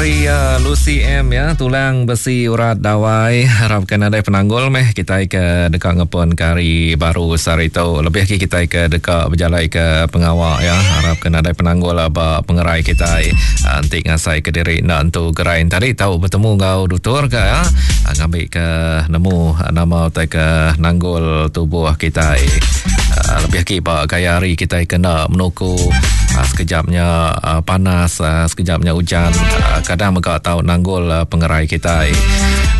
Ari uh, Lucy M ya, tulang besi urat dawai harapkan nadai penanggul meh kitai ke deka ngepun ke hari baru sehari tu. Lebih agi kitai ke deka bejalai ke pengawa ya, harapkan nadai penanggul lah ba pengerai kitai. Uh, enti ngasai ke diri enda entu gerai tadi tau betemu enggau dutur ke ya, uh, ngambi ke nemu nama utai ke nanggul tubuh kitai. Uh, lebih agi ba gaya hari kitai ke enda menuku uh, sekejap nya uh, panas uh, sekejap nya ujan uh, kadang mega tau nanggul uh, pengerai kitai.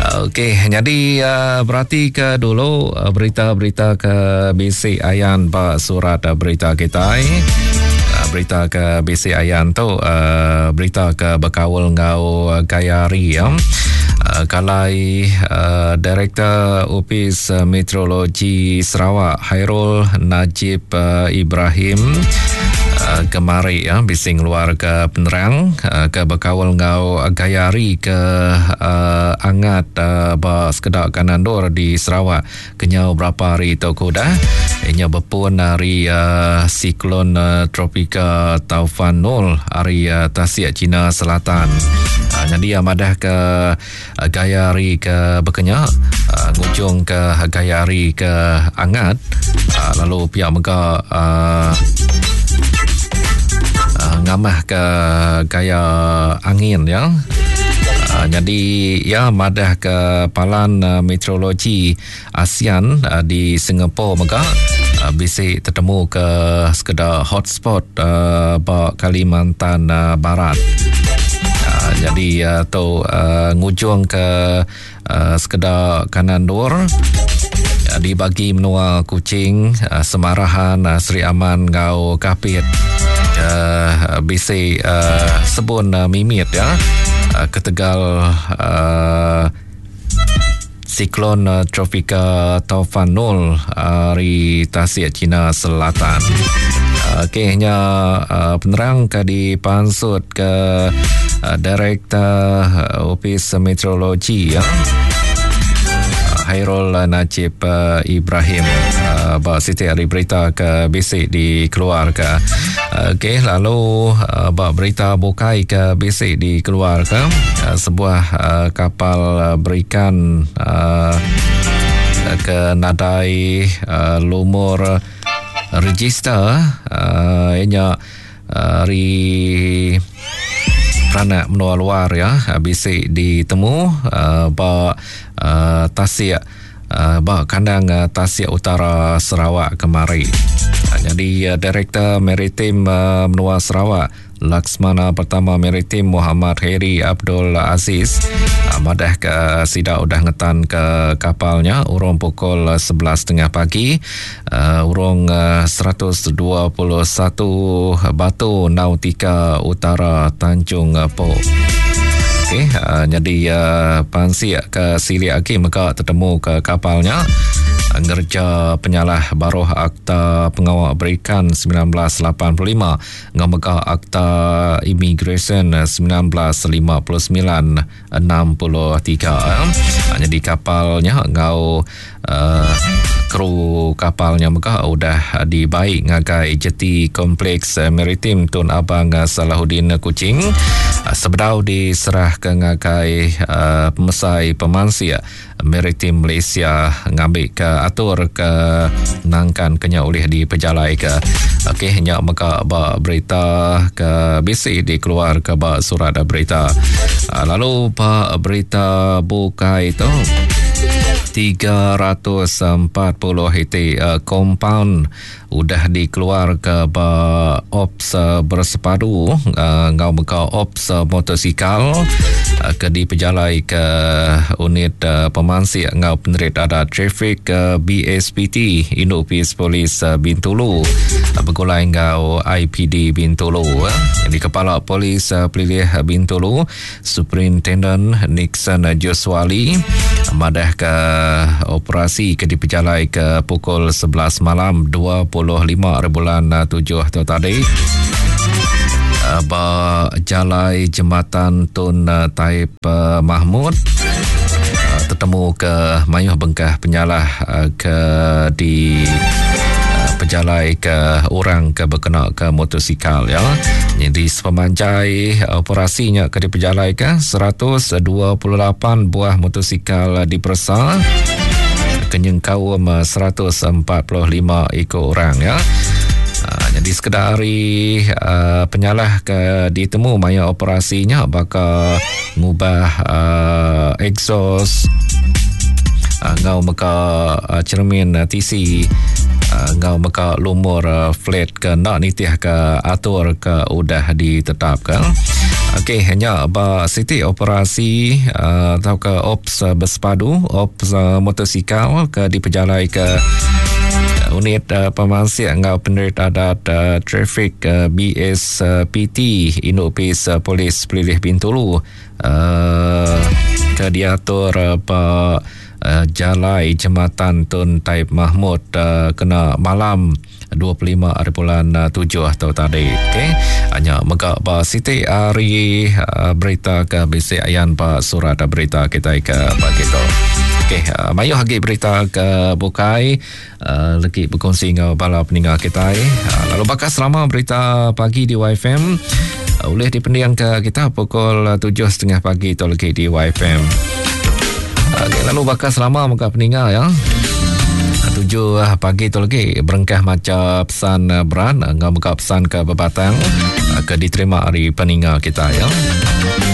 Uh, Okey, nyadi uh, berati ke dulu uh, berita-berita ke bisi ayan ba surat uh, berita kitai. Uh, berita ke bisi ayan tu uh, berita ke bekaul enggau gaya hari ya. Uh, kalai uh, Direktor Opis Meteorologi Sarawak Hairul Najib uh, Ibrahim uh, kemari ya bisi ngeluarka penerang uh, ke bekaul enggau gaya hari ke uh, angat uh, ba sekeda kanan endur di Sarawak kenyau berapa hari tu ke udah inya bepun ari uh, siklon uh, tropika Taufan Nul ari uh, Tasik Cina Selatan. Uh, jadi uh, madah ke uh, gaya hari ke bekenya uh, ngujung ke gaya hari ke angat uh, lalu pia mega uh, uh, ngamah ke gaya angin ya. Uh, jadi ya madah ke palan uh, meteorologi ASEAN uh, di Singapore mega uh, bisi tetemu ke sekeda hotspot uh, ba Kalimantan uh, Barat. Uh, jadi uh, tu uh, ngujung ke uh, sekeda kanan dur uh, dibagi menua Kuching, uh, Semarahan, uh, Sri Aman enggau Kapit uh, bisi uh, sebun uh, mimit ya uh, ketegal uh, Siklon Tropika Taufan Nul ari Tasik China Selatan. Okey nya penerang ke dipansut ke Direktor Opis Meteorologi ya. Hairul Najib Ibrahim ba siti ari berita ke bisi dikeluarka. Okey, lalu uh, ba berita bukai ke bisi dikeluarka uh, sebuah uh, kapal uh, berikan uh, ke nadai uh, lumur register uh, ianya ari uh, peranak menua luar ya bisi ditemu uh, ba uh, tasik ba kandang Tasik Utara Sarawak kemari. Nyadi Direktor Maritim Menua Sarawak, Laksmana Pertama Maritim Muhammad Hairi Abdul Aziz madahka sida udah ngetanka kapal nya urung pukul 11.30 pagi urung 121 batu nautika utara Tanjung Pok. Okey, uh, nyadi uh, pansik ke silik agi mega tetemu ke kapal nya ngerja penyalah baruh Akta Pengawa Berikan 1985 enggau mega Akta Imigresen 1959 63. Nyadi kapal nya enggau uh, kru kapal nya mega udah dibai ngagai jeti Kompleks Maritim Tun Abang Salahuddin Kuching sebedau diserahka ngagai uh, pemesai pemansik Maritim Malaysia ngambika atur ke nangkan ke nya ulih dipejalaika. Okey nya mega ba berita ke bisi dikeluarka ba surat berita. Ah, lalu ba berita bukai tu 340 iti uh, kompaun udah dikeluarka ba Ops Bersepadu enggau mega Ops Motosikal ke dipejalaika Unit Pemansik enggau Penerit Adat Trafik BSPT Indu Opis Polis Bintulu begulai enggau IPD Bintulu. Nyadi Kepala Polis Pelilih Bintulu Superintenden Nixon Josuali madahka operasi ke dipejalaika pukul 11 malam 25 hari bulan 7 tu tadi eh, ba jalai jembatan Tun Taib eh, Mahmud eh, tetemu ke mayuh bengkah penyalah ke di pejalai ke orang ke bekena ke motosikal ya. Jadi sepemanjai operasi nya ke dipejalaika 128 buah motosikal diperesa ke nyengkaum 145 iku orang ya. Jadi sekeda ari uh, penyalah ke ditemu maya operasi nya baka ngubah uh, exhaust uh, ngau meka uh, cermin uh, TC uh, ngau meka lumur uh, flat ke enda nitih ke atur ke udah ditetapkan. Okey, hanya ba siti operasi uh, atau ke ops uh, bersepadu, ops uh, motosikal ke dipejalai ke unit uh, pemansik enggau penerit adat uh, trafik uh, BSPT Induk Opis uh, Polis Pelilih Bintulu uh, ke diatur uh, ba uh, Jalai Jematan Tun Taib Mahmud uh, kena malam 25 hari bulan 7 tu tadi. Okey. Hanya mega ba siti hari uh, berita ke bisi ayan ba surat berita kita ke pagi tu. Okey, uh, mayuh agi berita ke bukai uh, legi berkongsi enggau bala peninga kita. Uh, lalu bakal selama berita pagi di YFM uh, boleh dipending ke kita pukul 7.30 pagi tu lagi di YFM. Okay, lalu bakal selama muka peninga ya. 7 pagi tu lagi berengkah maca pesan berat enggau mega pesan ke bebatang ke diterima ari peninga kita ya.